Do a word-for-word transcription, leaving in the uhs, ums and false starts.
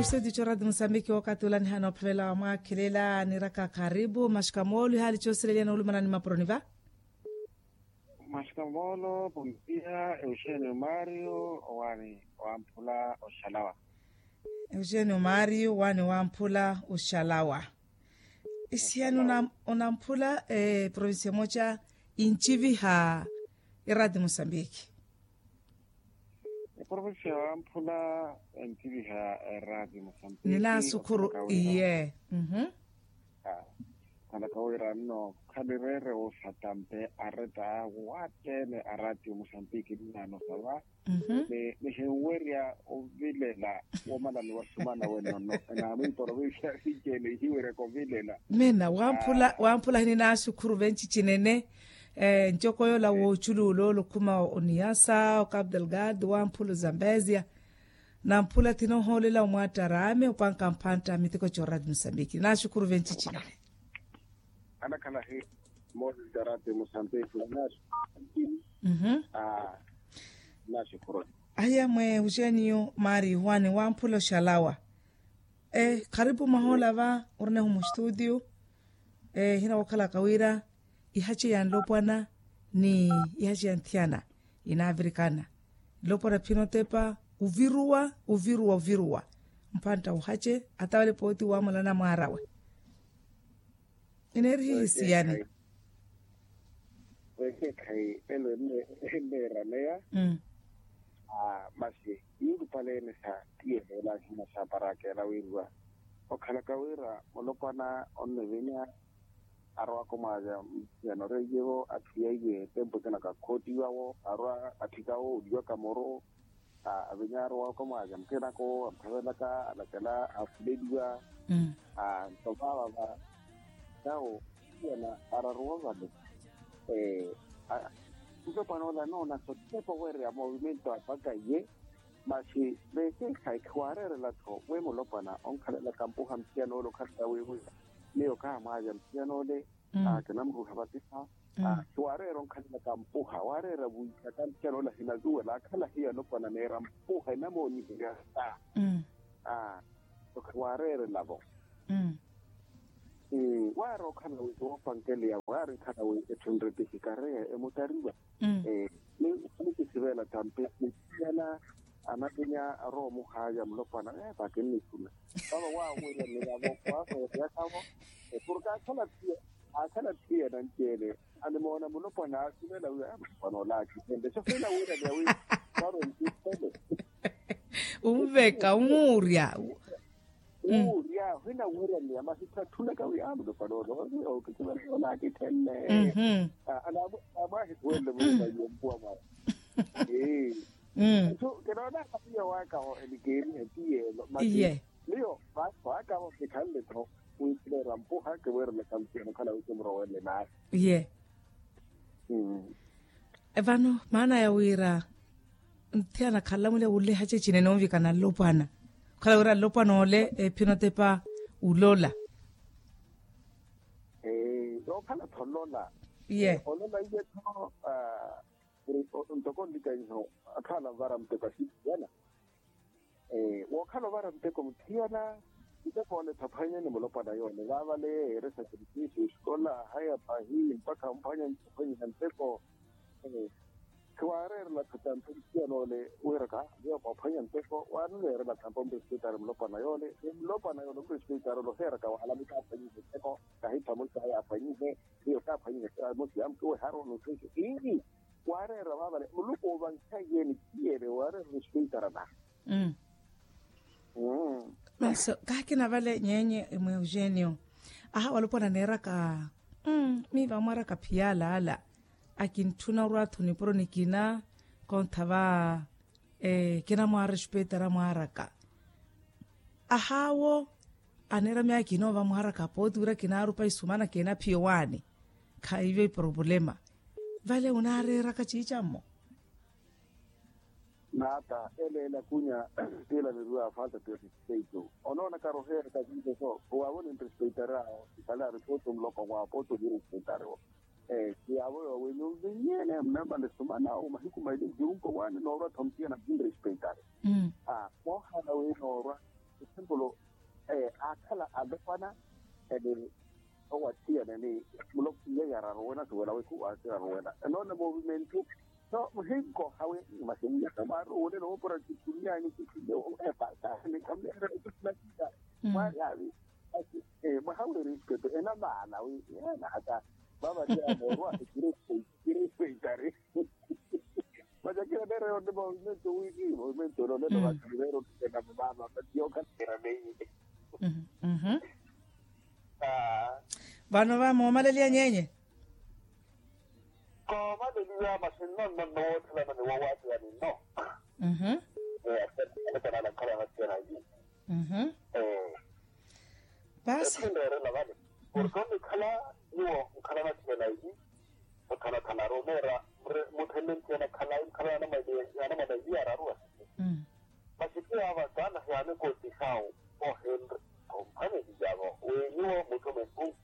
Studio txorati musambiki wakati ula nihana ophelela wamwakhelela niraka karibu mashikamoolo ihaali txoosilelya noolumana ni mapuroni va. Mashikamoolo pontia euxenio mario owaani wamphula oxalawa. Euxenio mario owaani wamphula oxalawa. Isiyani onamphula provincia emoca intiviha irati musambiki. Eprovincia wamphula entiviha erati musambiki. Ninasukhuru iye. Khalaka wira nno khalireere woosatampe areta wattene arati musambiki ninanosava. Nihinwerya ovilela womalani wa sumana wennono. Enaamwi provincia sinci ene ihiweryaka ovilela. Mena wamphula hininasukhuru venci cinene. Ncoko yoola wooculuula olokhuma oniyasa okabdelgad wamphula ozambezia. Namphula thinoohoolela omwattaraame opwanka mphantta miteko corati musambiki naxukuru venci cinene. Anakhala hi moses darati musambiki naxukuru. Naxukuru. Aya mwe uxeniyo mari hwane wamphula oxalawa. Kharipu mwahola va orinehu mustudio. Hina wookhalaka wira ihace ya nlopwana ni ihace ya nthiyana inaavirikana. Nlopwana phinotepa oviruwa oviruwa oviruwa mphantta ohace atavale pooti wamulana mwaarawe. Ineerihihi siyani. Wekeekhayi elo enneeraneya. Masi iirupaleene sa tiyeheela ahina sa parakeela wiiriwa okhalaka wira mulopwana onnivinya arowaka omwaaza mutiyana oreiyevo atthu yaiye tempu ekina kakhootiwawo arwa atthikawo oliwaka muru. Avinya arowaka omwaaza mutiyanakowo amuthavelaka alakela afuleliwa. Nto vaavava nawo mutiyana araruwa vale. Mutopwana ola anoonasa otepa oweereya movimento apaka iye. Masi veekeekhayi khiwaareerela-tho wi mulopwana onkhalela kampuha muthiyan'ole okhala wiiwiiwa. Miyo kaamwaavya muthiyan'ole. Kinamuruuha vatiha. Khiwaareera onkhalela kampuha waareera wiittaka muthiyan'ole ahinazuwela akhala hiyo alopwana neera mpuha enamooniherya sa. Khiwaareerela-vo. Waari okhala wi woopankeleya waari nkhala wi etthu nretihi kareya emutariwa. Nikisivela tampi nithiyana anavinya arowa omuhaaya mulopwana epa kinnikhuna. Vava waawerya niyavo kwaasoweryakavo. Porke akhala thiye akhala thiyana nci-ene. Animoona mulopwana aasivela wi aya mulopwana ola akhisenle sofela wiira niya wi. Varo ntithele. Unveka unwurya. Uurya hwina wira ni amahitha atthunaka wi amulopa noolo. Okikivareya onaakitthenne. Amwaahisuwenle mulipa yompuwa mwawe. Ee. Nto kinoonaka piya waakaho enikiirihe piyeelo masi. Miyo vaakaho kikhanle-tho. Wiikhilera mpuha kiweerelaka mutiyana okhala wi kimurowenle naahi. Ye. Vano maana ya wira nthiyana khalamwile wuleha cecinene onvikana nlopwana. Okhala wira nlopwana ole ephinotepa ulola. Okhala-tho lola. Ye. Olola iye-tho. Ntoko nlikaiho akhala nvara muteko asitiyana. Wookhala ovara muteko mutthiyana. Muteko ole thaphwanye ni mulopwana yoole vaavale yeeyeere sakrifisiyo esikola haya pahi mpakha mphwanya mphwanyiha muteko. Khiwaareerela thatampe mutthiyana ole wiiraka miyo moophwanya muteko waanileerela thampa omprespitari mulopwana yoole ni mulopwana yoole omprespitari ole oheeraka wahala mutaaphwanyihe muteko. Kahitha musi haya aphwanyihe miyo kaaphwanyihe. Musi yamtuwe haro nutthwisi ii. Waareera vaavale muluku oovankhaye ni piyeele waareera orispeitara na. Masi kaakina vale nyenye mwe eugenio. Aha walopwana neeraka mmm miiva mwaraka phiyala ala. Akintthuna orwa-tho nipuro nikina kontha va. Kinamwaarespetara mwaaraka. Ahaawo aneera myaakina ova mwaaraka pooti wira kinaarupa isumana kina phiyo waani. Khaive ipropulema vale onaareeraka ciicammo. Naata ele elakunya. Tiila niriwa falta de respeito. Onoona karoheeraka ciico so owaavo ninrespeitari awo ikhale aripooto muloko mwaawo pooto nirespeitariwo. Ti yaavo yoowenyu nvinyene munamale sumana omahiku maili njurunko waani noorwa-tho mutiyana munrespeitari. Moohala wi noorwa example, aakhala alopwana, ene owathiyana ni muloko iye yararuwena suwela wekhu waasiraruwena enoona movimentu. So muhinkoha wi masi muyaka mwaari owonela oopora tikunyani tikunyani epasani kamera ekusinakisa. Mwaari avi mwaha wi respect enamaana wi yeena hata vavatiya moorwa kiri kiri feitari. Masi akina neera yoonne movimento wini movimento enoonela vati neera otukena mamaama vati yookattera meiye. Vano va moomaleliya nyeenye. Koomaleliya masi nnonno nnowoothelana ni woowaateyani nno. Asekanala nkhala nathiyana yi. Paasi etthundeerela vale porke onnikhala nyuwo nkhala nathiyana yi. Othanathanaru oneera mutthenle ntthiyana khala nkhala yanamwaliye yararuwa. Masi ti yaava saana hiyaani kootihawu ohenre omphwaneliya vo wi nyuwo mutthu mwehu.